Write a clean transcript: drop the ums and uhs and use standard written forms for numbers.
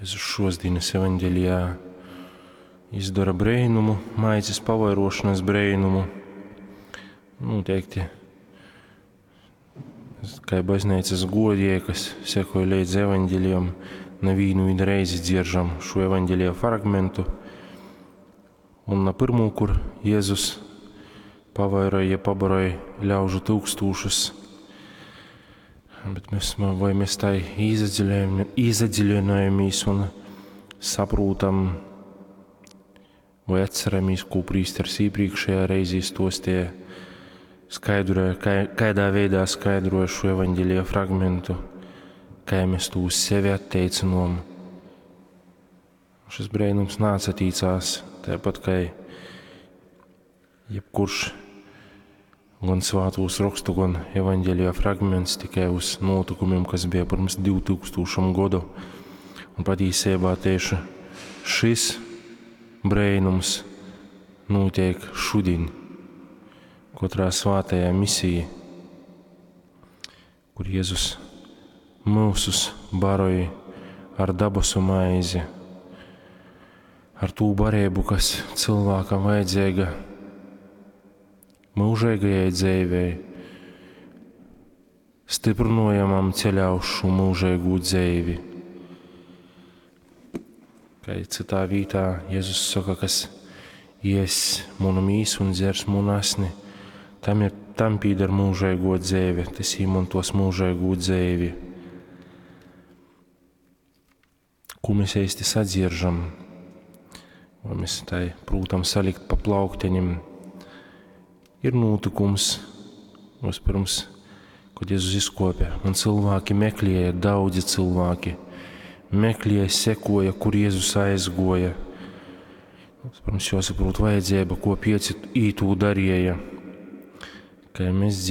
Jēzus šosdienas evaņģelijā izdara breinumu, maizes pavairošanas breinumu. Noteikti, kā baznīcas godie, kas sekoja līdz evaņģelijam, nevienu vien reizi dzieržam šo evaņģelija fragmentu. Un na pirmo, kur Jēzus pavairoja, pabaroja ļaužu tūkstūšus, bet mēs, vai mēs tai īzadziļinājamies un saprotam, vai atceramies, ko prīsters iepriekšējā reizē stostīja, skaidroja, kādā veidā skaidroja šo evaņģelija fragmentu, kā mēs to uz sevi atteicinām. Šis brēnums nāca tīcās, tāpat kā jebkurš gan svātūs rakstu, gan evaņģēlijā fragments tikai uz notikumiem, kas bija pirms 2000 gadu. Un patiesībā tieši šis brēnums notiek šodien, katrā svātajā misijā, kur Jēzus mūsus baroja ar dabasu maizi, ar tū barību, kas cilvēkam vajadzīga mūžīgajai dzīvei, stiprinojamam ceļā uz šo mūžīgo dzīvi. Kā citā vietā Jēzus saka, kas ies manu mīsu un dzers manu asni, tam, ir, tam pīder mūžīgo dzīve, tas īmantos mūžīgo dzīvi. Ko mēs īsti sadzieržam? Vai mēs tai prūtam salikt pa plaukteņiem? Ir notikums, vispirms, kad Jēzus izkopja, un cilvēki meklēja, daudzi cilvēki meklēja, sekoja, kur Jēzus aizgoja. Vispirms jāsaprot vajadzība, ko pieci ītū darīja. Kā mēs